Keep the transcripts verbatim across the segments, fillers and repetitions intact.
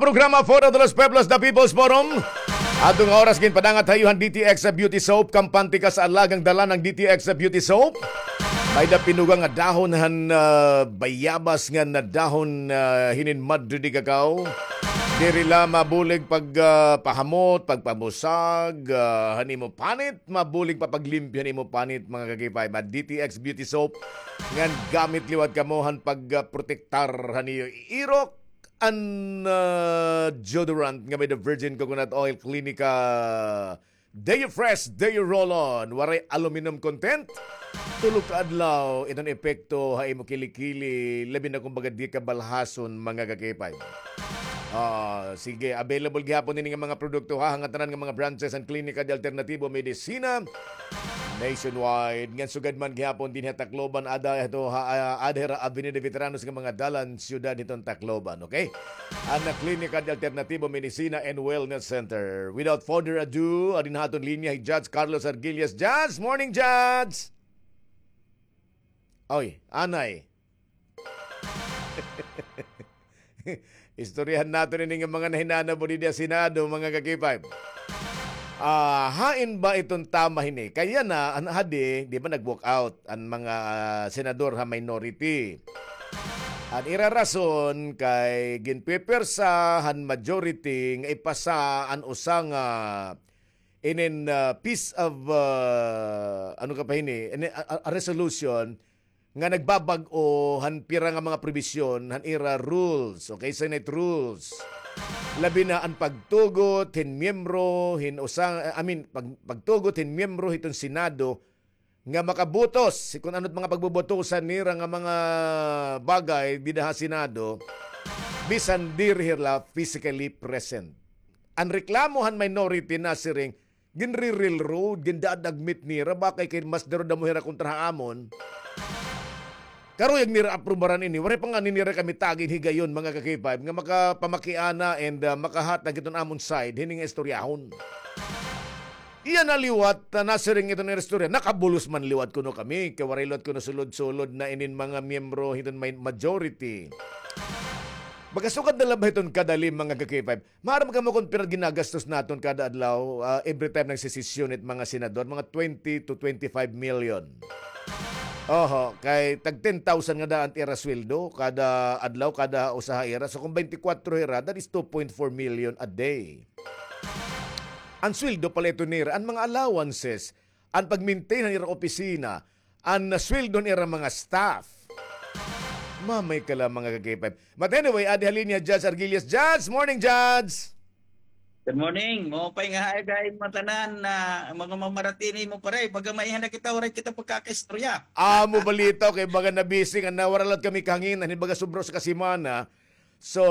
Programa Foro de los Pueblos, The People's Forum. Ato nga oras ginpadangat ha iyo han D T X Beauty Soap, kampante ka sa alagang dala ng D T X Beauty Soap. May da pinuga nga dahon han, ah, bayabas nga nadahon, ah, hinin madre de cacao. Diri la mabulig pag, ah, pahamot, pagpabusag, ah, han imo panit, mabulig pa paglimpyo han imo panit, mga ka-K five. At D T X Beauty Soap, ngan gamit liwat kamo han pag, ah, protektar han iyo irok, an, ah, deodorant nga may the virgin coconut oil, Clinica Deo Fresh, Deo Roll-On, waray aluminum content. Tulo ka adlaw, iton epekto ha imo kilikili, labi na kung baga di ka balhason, mga ka-K five. Ah, sige, available gihapon ini nga mga produkto ha, hangatanan nga mga branches an Klinika de Alternatibo Medicina nationwide. Ngan sugad man gihapon dinhi ha Tacloban, ada ito ha, ah, ada hira Avenida Veteranos nga mga dalan, siyudad hiton Tacloban, okay? An Klinika de Alternatibo Medicina and Wellness Center. Without further ado, adi na aton linya hi Judge Carlos Argillas. Judge, morning, Judge! Oy, anay. Istoryahan naton ini nga mga nahinanabo didi ha Senado, mga ka-K five. Ah, hain ba iton tama hini? Kay yana, an hadi, di ba nag-walk out an mga, ah, senador ha minority? An ira rason kay ginpipwersa han majority nga ipasa an usa nga inin, ah, piece of, ah, ano ka pa hini, ini, a, a, a resolution nga nagbabag-o han pira nga mga probisyon han ira rules, okay, Senate rules. Labi na an pagtugot hin miyembro hin usa, I mean, pag-, pagtugot hin miyembro hiton Senado nga makabutos kon ano it mga pagbubutusan nira nga mga bagay dida ha Senado, bisan diri hira physically present. An reklamo han minority nasiring, ginri-railroad, gindadagmit nira, bakay kay mas darodamo hira kontra ha amon. Karuyag nira aprubaran ini, waray pa ngani nira kami tagin higayon, mga ka-K five, nga makapamakiana and, ah, makahatag hiton amon side hini nga istoryahon. Iya na liwat, ah, nasiring iton nga istorya, nakabulos man liwat kuno kami, kay waray liwat kuno sulod-sulod na inin mga miyembro hiton may majority. Baga sugad na la ba hiton kadali, mga ka-K five? Maaram kamo kon pira ginagastos naton kada adlaw, ah, every time nagsesesyon it mga senador, mga twenty to twenty-five million. Oho, kay tag ten thousand nga daan it ira sweldo kada adlaw, kada usa ha ira. So, kung twenty-four hira, that is two point four million a day. An sweldo pala ito nira, an mga allowances, an pag-maintain han ira opisina, an sweldo han ira mga staff. Mamay ka la, mga ka-K five. But anyway, adi ha linya, Judge Argillas. Judge, morning, Judge! Good morning. Maupay nga aga ha imo ngatanan, mga mamaratini mo, pare. Baga maiha na kita, waray kita pagkakaistorya. Amo balita, kay baga nabisi nga nawara la kami kahanginan, baga sobra usa ka semana. So,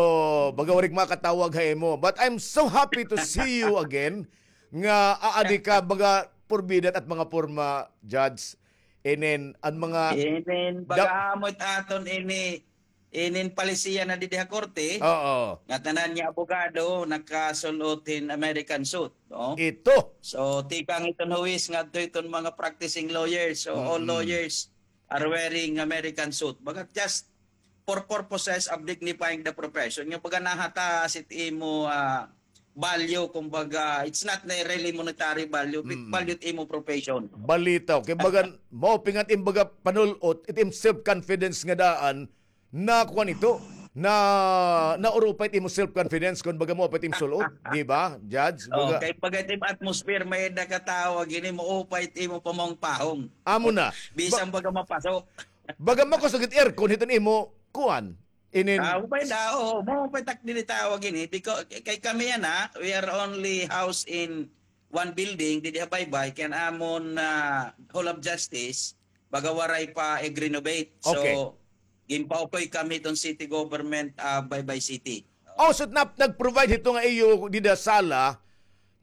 baga waray ko makatawag ha imo. But I'm so happy to see you again. Nga aadi ka, baga purbida it mga porma, Judge. Inin, an mga Inin, da- baga amo it aton ini, inin palisiya na didi ha korte. Oo. Nga tanan nga abogado nakasul-ot hin American suit, no? Ito. So, tikang iton huwis ngadto iton mga practicing lawyers. So, all Mm-mm. lawyers are wearing American suit. Baga just for purposes of dignifying the profession. Nga baga nahataas it imo, ah, value, kumbaga, it's not really monetary value, but Mm. value it imo profession. Balitaw. Kay baga, maupay nga it im baga panul-ot, it im self-confidence nga daan, na kuan ito, na, naurupa it imo self-confidence, kon baga maupay it im sul-ot, di ba, Judge? Oh, Baga, kay baga it im atmosphere, may-ada ka tawo, gini, maupay it imo pamahong-pahong. Amo na. Bisan Ba- baga mapasok. Baga makusog it aircon hiton imo kuan. Inin Ah, upay da, oo, maupay tak diri tawag ini. Because kay kami yana, we are only housed in one building, didi ha Baybay, kay an amon, ah, Hall of Justice, baga waray pa ig-renovate. So, Okay. ginpaukoy kami iton city government, ah, Baybay City. Oh, so nap-, nag-provide hito nga iyo dida sala,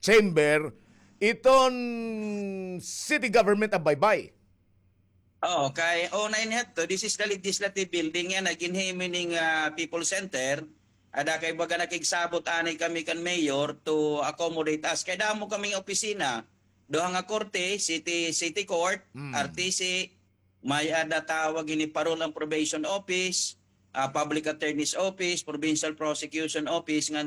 chamber, iton city government of Baybay. Oo, kay una ini hadto, this is the legislative building yana, ginhimo ini nga, ah, People Center. Ada kay baga nakigsabot anay kami kan mayor to accommodate us. Kay damo kami nga opisina, duha nga korte, city, city court, Mm. R T C, may-ada tawag ini parole and probation office, ah, public attorney's office, provincial prosecution office, ngan